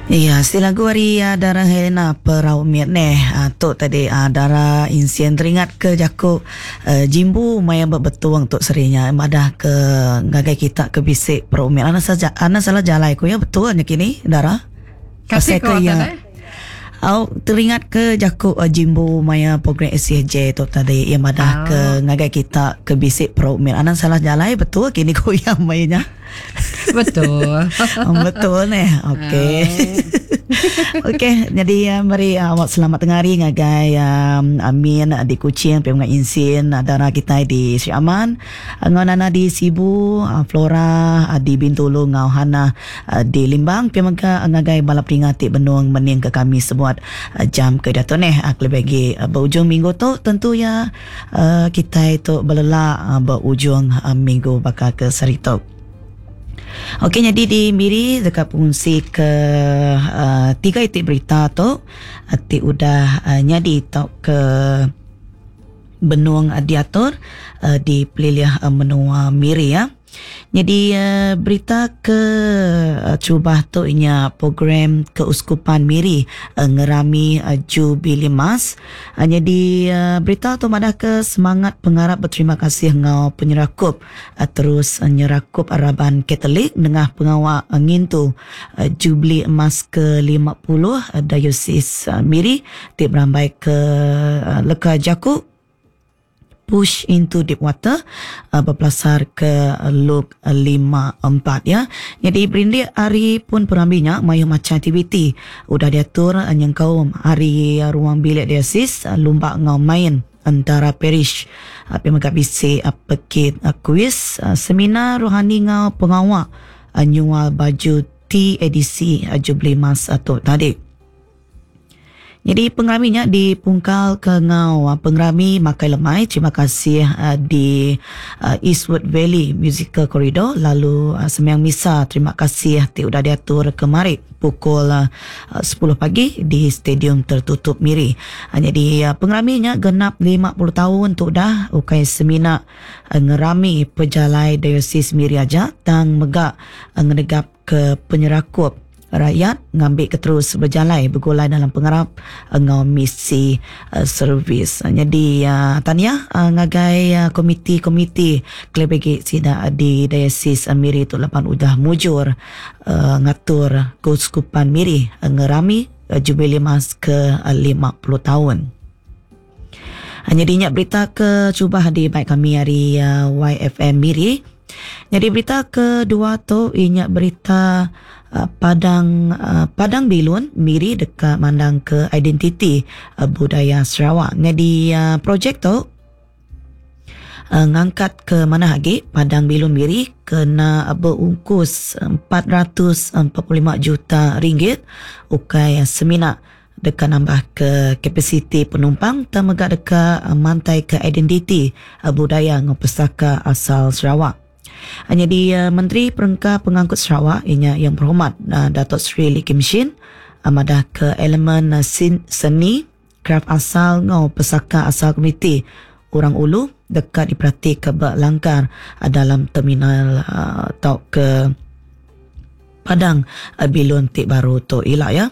Iya, si lagu ari Dara Helena Perau Mit neh. Tu tadi Dara Insien teringat ke jaku Jimbu maya ba Betong tu seri nya madah ke ngagai kita ke bisi Perau Mit. Anang saja anang salah jalai ku iya betul nya kini Dara. Kasih ko iya. Au teringat ke jaku Jimbu maya program ACJ tu tadi iya madah ke ngagai kita ke bisi Perau Mit. Anang salah jalai betul kini ku iya maya nya. Betul. Betul neh. Okey. Okey, jadi uh, meri uh, awak selamat tengah hari ngagai um, Amin uh, di Kuching, Pia Mengai Insin, uh, dara kita di Sri Aman, uh, ngau Nana di Sibu, uh, Flora uh, di Bintulu ngau Hana uh, di Limbang, pia mega uh, ngagai bala peninga ti benung mening ke kami sebuat uh, jam ke diatu neh. Uh, kelebih agi uh, berujung minggu tu tentu ya Kitai tu belela ba ujung minggu baka ke sehari tu. Okey nyadi di Miri deka pengungsi ke tiga iti berita tu ti udah nyadi tauka benung diatur di pelilih menua Miri ya. Nyadi berita ke terubah tu inya program Keuskupan Miri ngerami Jubili Mas. Nyadi berita tu madahka semangat pengarap beterima kasih enggau penyerakup terus nyerakup raban Katolik nengah pengawa ngintu Jubili Emas ke 50 Diosis Miri ti berambaika leka jaku Push into deep water bepelasar ke Luke 5:4 ya. Nyadi berindik ari pun perambi nya mayuh macham aktiviti udah diatur nyengkaum ari ruang bilik diasis, lumba enggau main entara parish pia mega bisi pekit kuiz, seminar rohani enggau pengawa nyual baju TADC Jubli Mas tu tadi. Nyadi pengerami nya dipungkal ke enggau pengerami makai lemai terima kasih di Eastwood Valley Musical Corridor lalu sembiang misa terima kasih ti udah diatur kemari pukul 10 pagi di Stadium Tertutup Miri. Nyadi pengerami nya genap 50 taun tu udah ukai semina ngerami pejalai Diosis Miri aja tang mega ngenegap ke penyerakup rakyat ngambika terus bejalai begulai dalam pengarap enggau misi servis. Nyadi tahniah ngagai komiti-komiti kelebih agi sida di Diocese Miri tu laban udah mujur ngatur Keuskupan Miri ngerami Jubilee Mas ke 50 taun. Nyadi nya berita ke cubah dibai kami ari YFM Miri. Nyadi berita kedua tu iya nya berita Padang Padang Bilun Miri deka mandangka identiti budaya Sarawak. Nyadi projek tu ngangkatka manah agi Padang Bilun Miri kena beungkus 445 juta ringgit ukai semina deka nambahka kapasiti penumpang tang mega deka mantaika identiti budaya enggau pesaka asal Sarawak. Nyadi Menteri Perengka Pengangkut Sarawak iya nya Yang Berhormat Dato Sri Lee Kim Shin madahka elemen seni, kraf asal enggau pesaka asal komuniti Orang Ulu deka diperatika ba langkar dalam terminal tauka padang bilun ti baru tu ila iya.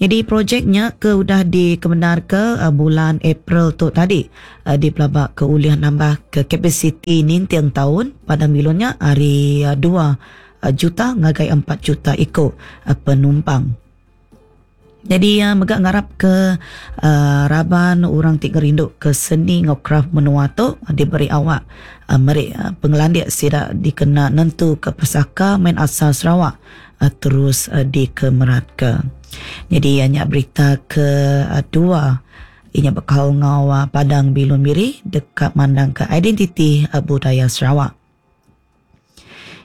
Nyadi projek nya ke udah dikemendarka bulan April tu tadi dipelabaka ulih nambahka kapasiti ninting taun padang bilun nya ari dua juta ngagai empat juta iku penumpang. Nyadi iya mega ngarapka raban orang ti ngerinduka seni enggau kraf menua tu diberi awak meri pengelandik sida dikena nentuka pesaka main asal Sarawak terus dikemeratka. Nyadi iya nya berita kedua iya nya bekaul enggau Padang Bilun Miri deka mandangka identiti budaya Sarawak.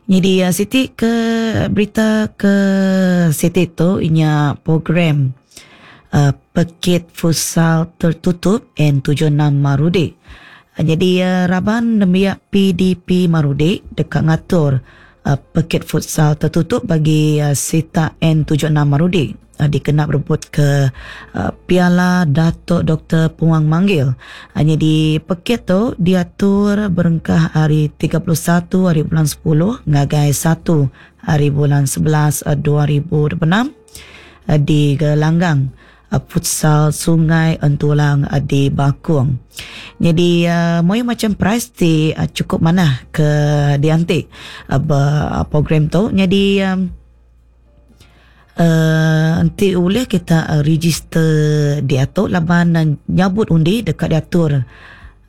Nyadi siti ke berita ke siti tu inya program Pekit Futsal Tertutup N76 Marudi. Nyadi raban nembiak PDP Marudi deka ngatur Pekit Futsal Tertutup bagi sitak N76 Marudi dikena berebutka Piala Datuk Doktor Puang Manggil. Nyadi pekit tu diatur berengkah ari 31 hari bulan sepuluh ngagai satu hari bulan 11 2026. di Gelanggang Futsal Sungai Entulang di Bakong. Nyadi mayuh macham prize ti chukup manah ke dianti ba program tu. Nyadi uhh enti ulih kita register diatu laban nyabut undi deka diatur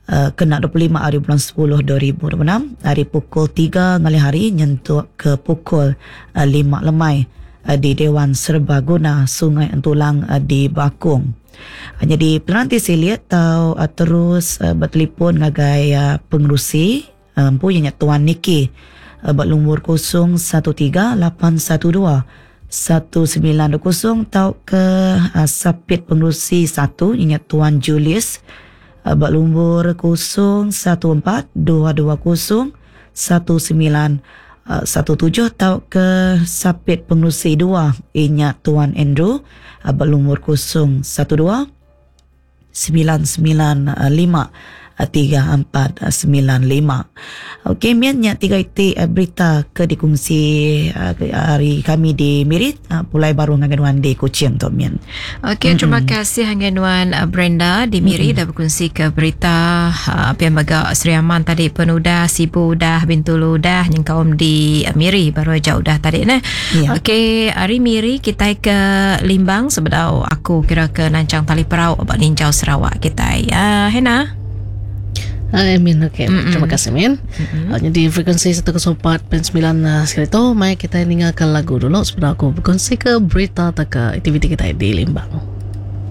uhh kena 25 hari bulan 10 2026 ari pukul 3 ngalih hari nyentuk ke pukul 5 lemai di Dewan Serbaguna Sungai Entulang di Bakong. Nyadi pelan ti silik tau terus betelefon ngagai pengerusi empu iya nya Tuan Niki ba lumur 013 812 1920 tauka sapit pengerusi satu iya nya Tuan Julius ba lumur 014 220 1917 tauka sapit pengerusi dua iya nya Tuan Andrew ba lumur 012 995 3495. Okey min nya tiga iti berita ke dikongsi ari kami di Miri pulai baru ngagai nuan di Kuching tu min. Okey terima kasih ngagai nuan Brenda di Miri dah bekongsi ke berita pia mega Sri Aman tadi pun udah Sibu udah Bintulu udah nyengkaum di Miri baru aja udah tadi neh. Okey ari Miri kitai ke Limbang sebedau aku kira ke nanchang tali perau ba ninjau Sarawak kitai. Uh, Hena. Hai Min, okey. Mm-mm. Terima kasih Min. Uh, jadi frekuensi 104.9 uh, sekali tu, mai kita ninga ke lagu dulu sebelum aku berkongsi ke berita atau ke aktiviti kita di Limbang.